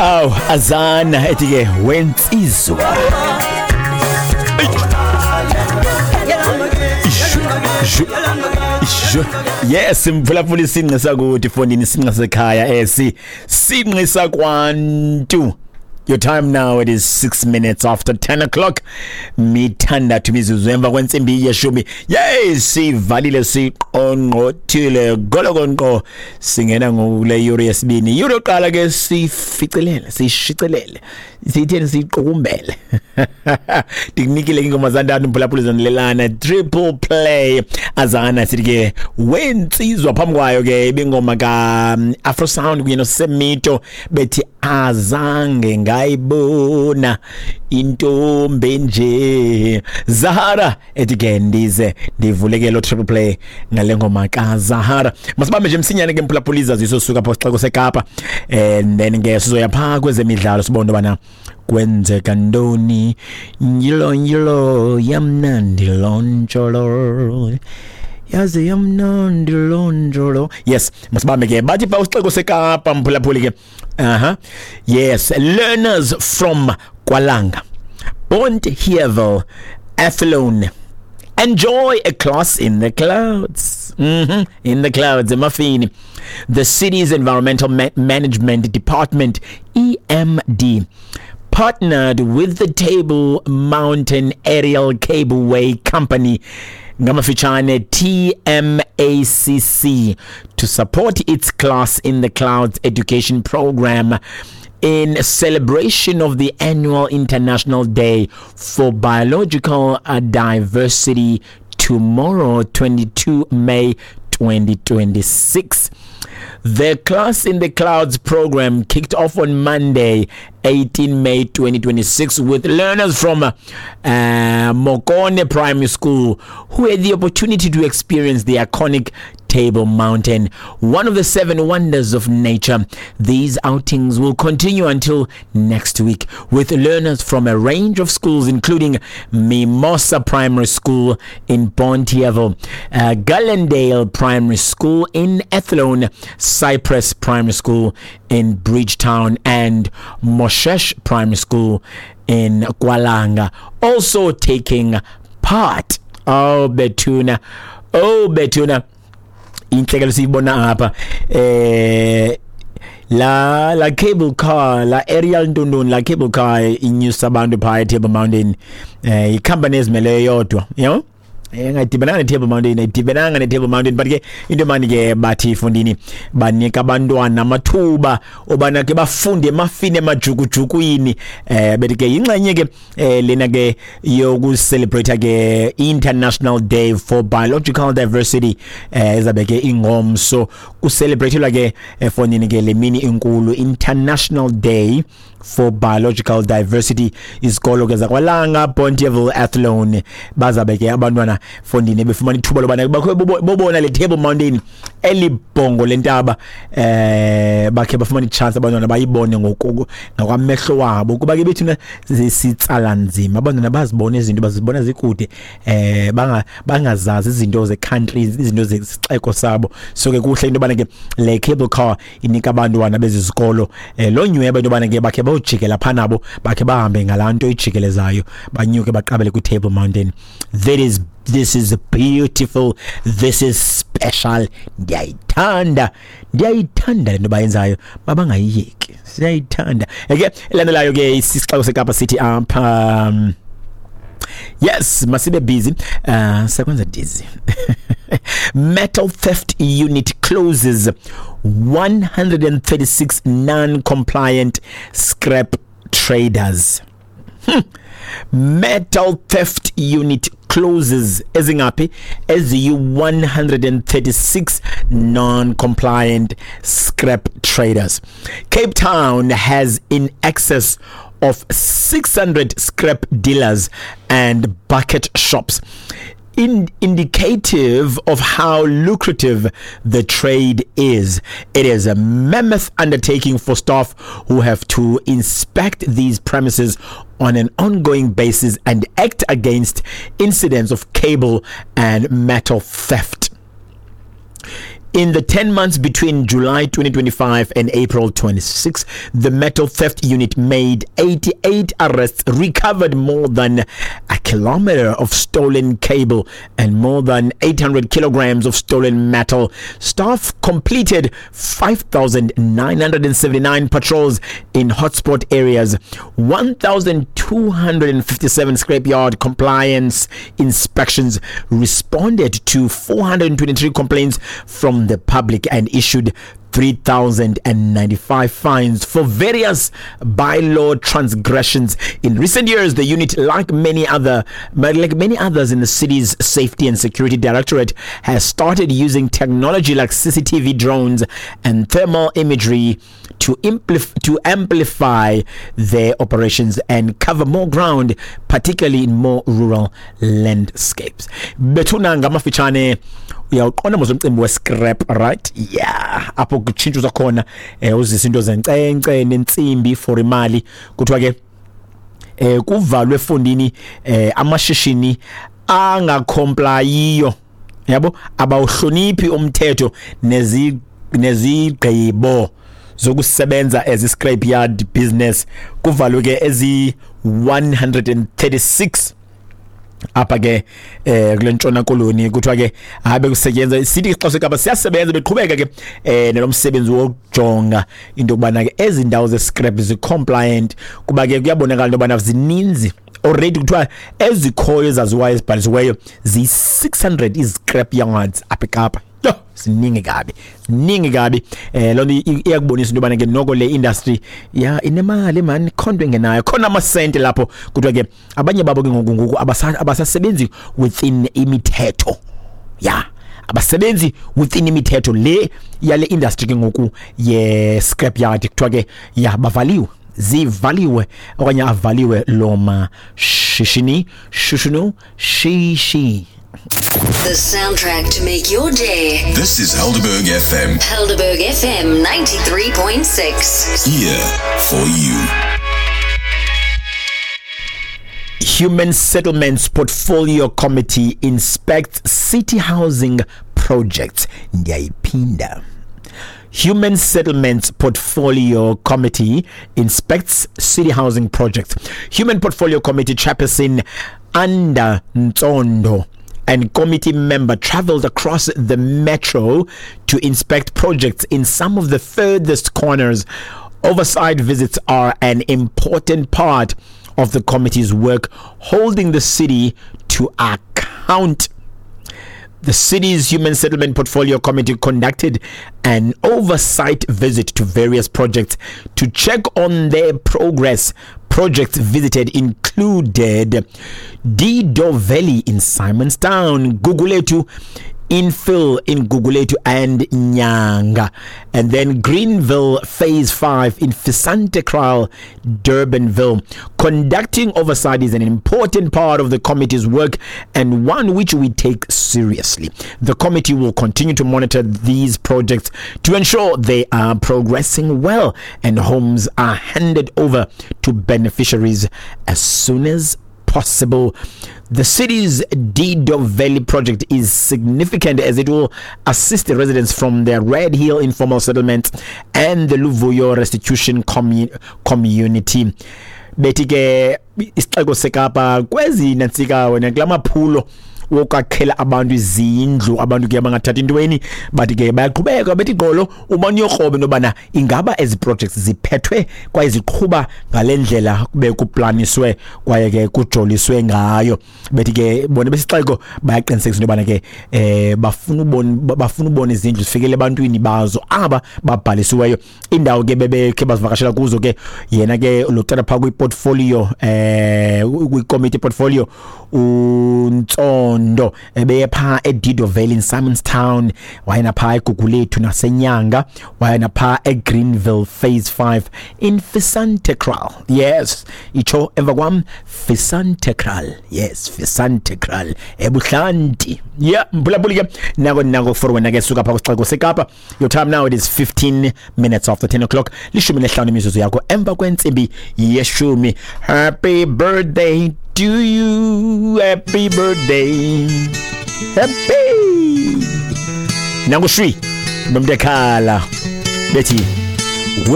Aw, azana ethi ke wensizwa. Yes, mphulaphula isinqi sakuthi fondini, isinqi sekhaya esi sinqi sakwantu. Your time now, it is 6 minutes after 10 o'clock. Mithandathu imizuzu emva kwentsimbi yeshumi. Yey, sivalile, siqongqothile golokonqo, singena ngokule yure yesibini. Yure yokuqala ke sificelele, sishicilele, siyitheni, siyiqukumbele. Ndikunikile ingoma zantathu, mphulaphula, zanilelana triple play. Azana sithi ke wensizwa, phambi kwayo ke ibingoma ka Afro Sound kunye noSemito bethi azange ngayibona intombi nje. Zahara ethi ke ndize ndivuleke lo triple play ngale ngoma ka Zahara. Masibambe nje msinyane ke, mphulaphula, izaziso suka pha sixeko seKapa, and then ke sizoya pha kwezemidlalo, sibone bana kwenzeka ntoni. Njilo njilo, yamnandi lontsholo, yaze yamnandi lontsholo. Yes, masibambe ke. Bathi pha usixeko seKapa, mphulaphuli ke, aha, yes, learners from KwaLanga, Bonteheuwel, Athlone enjoy a class in the clouds. In the clouds, emafini. The city's Environmental Management Department, EMD, partnered with the Table Mountain Aerial Cableway Company, ngamafitshane TMACC, to support its Class in the Clouds education program in celebration of the annual International Day for Biological Diversity tomorrow, 22 May 2026. The Class in the Clouds program kicked off on Monday, 18 May 2026, with learners from Mokone Primary School who had the opportunity to experience the iconic Table Mountain, one of the seven wonders of nature. These outings will continue until next week with learners from a range of schools, including Mimosa Primary School in Bonteheuwel, Gallendale Primary School in Athlone, Cypress Primary School in Bridgetown, and Moshesh Primary School in KwaLanga, also taking part. Oh, Betuna. Oh, Betuna. Inhlekelo siyibona apha, la cable car, la aerial ntontoni, la cable car inyusa abantu phaa eTable Mountain, ikhampani ezimeleyo yodwa, yabo, engadibananga neTable Mountain, ayidibenanga neTable Mountain. But ke into mani ke bathi ifundini banika abantwana amathuba obana ke bafunde emafini, emajukujukwini. Bethi ke yingxenye ke lena ke yokucelebrate ke International Day for Biological Diversity, ezabe ke ingomso kucelebratelwa ke efondini ke le mini inkulu, International Day for Biological Diversity. Izikolo ke zakwaLanga, Bonteheuwel, Athlone, bazabe ke abantwana fondini befumana ithuba lobana bakhe bobona le Table Mountain, elibhongo lentaba, bakhe bafumana ichance abantwana bayibone ngoku ngakwamehlo wabo, kuba ke bethuna sitsala nzima abantwana bazibone izinto, bazibona zikude, bangazazi izinto ze-countries, izinto zesixeko sabo. So ke kuhle into yobana ke le cable car inika abantwana bezi zikolo lo nyweba into yobana ke bakhe bayojikela phaa nabo, bakhe bahambe ngalaa nto ijikelezayo, banyuke baqabele kwi-Table Mountain. That is This is beautiful, this is special. Ndiyayithanda, ndiyayithanda le nto bayenzayo, mabangayiyeki, siyayithanda. Eke elandelayo ke, isixeko seKapa sithi apha, yes, masibe busy, sekwenza dizzy. Metal theft unit closes 136 non-compliant scrap traders. Metal theft unit closes ezingaphi? Eziyi-136 non-compliant scrap traders. Cape Town has in excess of 600 scrap dealers and bucket shops, indicative of how lucrative the trade is. It is a mammoth undertaking for staff who have to inspect these premises on an ongoing basis and act against incidents of cable and metal theft. In the 10 months between July 2025 and April 26, the metal theft unit made 88 arrests, recovered more than a kilometer of stolen cable and more than 800 kilograms of stolen metal. Staff completed 5,979 patrols in hotspot areas, 1,257 scrapyard compliance inspections, responded to 423 complaints from the public and issued 3,095 fines for various bylaw transgressions. In recent years, the unit, like many others in the city's Safety and Security Directorate, has started using technology like CCTV drones and thermal imagery to amplify their operations and cover more ground, particularly in more rural landscapes. Bethuna, ngamafitshane, uyawuqonda mos umcimbi we-scrap, right? Yeah, apho kutshintshwa khona uzisa into zenkcenkce nentsimbi for imali. Kuthiwa ke kuvalwe efondini amashishini angakomplayiyo, yabo, abawuhloniphi umthetho nezigqibo zokusebenza as scrap yard business. Kuvalwe ke ezi 136 apha ke kule Ntshona Koloni. Kuthiwa ke hayi, bekusetyenzwa sithi xa seKapa siyasebenza, beqhubeka ke nalomsebenzi wokujonga into yokubana ke ezi ndawo ze-scrap zi-compliant, kuba ke kuyabonakala into yobana zininzi already. Kuthiwa ezikhoyo ezaziwayo ezibhalisiweyo ziyi-600 izi-scrap yards apha eKapa. Yho, ziningi kabi, ziningi kabi. Loo nto iyakubonisa into yobana ke noko le industry ya inemali man, khonto engenayo khona amasente lapho. Kuthiwa ke abanye babo ke ngoku abasasebenzi within imithetho ya, abasebenzi within imithetho le yale industry ke ngoku ye scrap yard. Kuthiwa ke ya, bavaliwe, zivaliwe okanye avaliwe lo mashishini shushunu shishi. The soundtrack to make your day. This is Helderberg FM. Helderberg FM 93.6. Here for you. Human Settlements Portfolio Committee inspects city housing projects. Ndiyayiphinda. Human Settlements Portfolio Committee inspects city housing projects. Human Portfolio Committee Chairperson Anda Ntsondo and committee member traveled across the metro to inspect projects in some of the furthest corners. Oversight visits are an important part of the committee's work, holding the city to account. The city's Human Settlement Portfolio Committee conducted an oversight visit to various projects to check on their progress. Projects visited included Dido Valley in Simonstown, Guguletu Infill in Guguletu and Nyanga, and then Greenville Phase 5 in Fisantekraal, Durbanville. Conducting oversight is an important part of the committee's work and one which we take seriously. The committee will continue to monitor these projects to ensure they are progressing well and homes are handed over to beneficiaries as soon as possible. The city's Dido Valley project is significant as it will assist the residents from the Red Hill informal settlement and the Luvuyo Restitution Community. Bethi ke isixeko seKapa kwezi nantsika wena kula maphulo wokwakhela abantu izindlu, abantu ke abangathathi intweni, bathi ke bayaqhubeka bethi gqolo ubani uyokroba into yobana ingaba ezi projects ziphethwe kwaye ziqhuba ngale ndlela kube kuplaniswe kwaye ke kujoliswe ngayo. Bethi ke bona besixeko bayaqinisekisa into yobana ke bafuna ubona izindlu zifikele ebantwini bazo aba babhalisiweyo. Indawo ke bebekhe bazivakashela kuzo ke, yena ke lo tata phaa kwi-portfolio, kwi-committee portfolio uNtsondo, ebeye phaa eDido Valley in Simonstown, wayena phaa eGugulethu naseNyanga, wayena phaa eGreenville Phase 5 in Fisantekraal. Yes, itsho emva kwam, Fisantekraal. Yes, Fisantekraal ebuhlanti. Yeah, mphulaphuli ke, nako for wena ke suka phaa kwisixeko seKapa. Your time now, it is 15 minutes after 10 o'clock, 15 imizuzu yakho emva kwentsimbi yeshumi. Happy birthday to you, happy birthday, happy. Nangu shwi. Bemntu ekhala bethi.